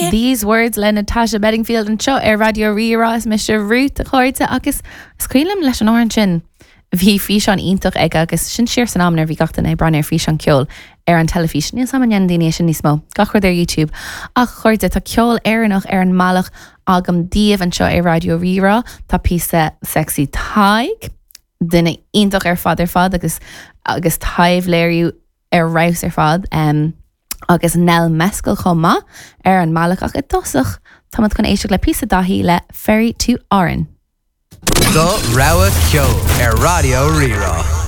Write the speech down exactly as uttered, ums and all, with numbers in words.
These Words le Natasha Bedingfield anseo ar Raidió Rí-Rá. Is mise Ruth, a chairde, agus is cuimhin liom leis an amhrán sin, bhí físeán iontach aige agus sin siar san am nuair bhí gach duine ag breathnú ar físeán ceoil ar an teilifís. Níl sam an daoine sin níos mó, gach rud ar YouTube. Ach chairde, tá ceol Éireannach ar an mbealach agam daoibh anseo ar Raidió Rí-Rá. Tá píosa Sexy Tadhg, duine iontach ar fad ar fad agus agus taibhléiriú ar fheabhas ar fad. Um, agus Nell Mescal chomh maith ar an mbealach, ach i dtosach táimid chun éisteacht le píosa Daithí le Ferry to Aran. Do rogha ceoil ar Raidió Rí-Rá.